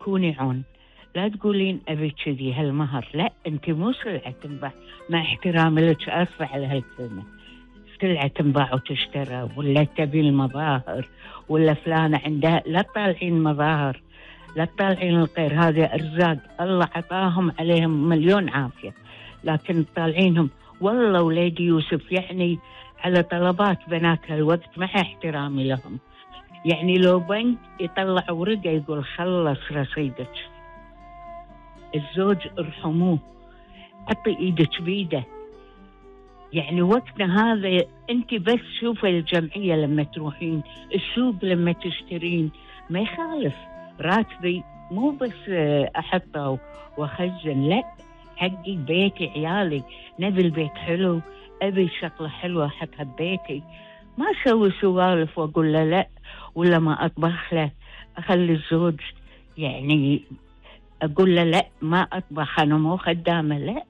كوني عون، لا تقولين أبي كذي هالمهر، لا أنت مو سلعة تنباع. مع احترامي لك، آسفة على هالكلمة، سلعة تنباع وتشترى، ولا تبي المظاهر، ولا فلانة عندها. لا تطالعين مظاهر، لا تطالعين الغير، هذه أرزاق الله عطاهم عليهم مليون عافية، لكن تطالعينهم والله وليدي يوسف يعني على طلبات بنات هالوقت مع احترامي لهم. يعني لو بنك يطلع ورقة يقول خلص رصيدك، الزوج ارحموه، حطي ايدك بيده. يعني وقتنا هذا انت بس شوفي الجمعية لما تروحين السوق، لما تشترين، ما يخالف راتبي مو بس احطه واخزن، لا، حقي بيتي عيالي، نبي البيت حلو، ابي شغله حلوه احطها ببيتي. ما اسوي سوالف واقول له لا، ولا ما اطبخ له، اخلي الزوج يعني اقول له لا ما اطبخ انا مو خدامه، لا،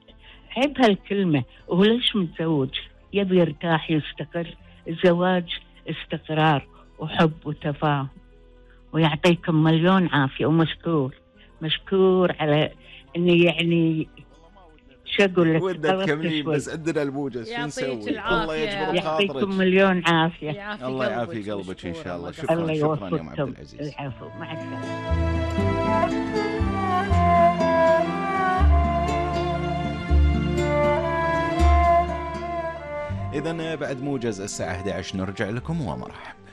عيب هالكلمه. وهو ليش متزوج؟ يبي يرتاح يستقر. الزواج استقرار وحب وتفاهم. ويعطيكم مليون عافيه، ومشكور مشكور على اني يعني شو اقول لك، ودنا تكملين بس عندنا الموجز، شو نسوي؟ الله يجبر بخاطرك. يعطيكم مليون عافيه. الله يعافي قلبك ان شاء الله. شكرا شكرا يا ام عبد العزيز. العفو، مع السلامه. إذن بعد موجز الساعة 11 نرجع لكم ومرحبا.